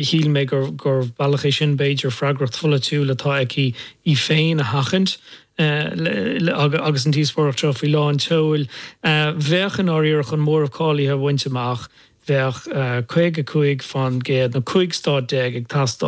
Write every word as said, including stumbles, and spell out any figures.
Shíl mé gur gur bealach é sin b'fhéidir freagracht pholaitiúil atá aici í féin a sheachaint agus an díospóireacht seo faoi lán tseoil. Bheadh i ndáiríre chun móramh cáilithe a bhaint amach, bheadh caoga cúig faoin gcéad nó cúig stát déag ag teastáil.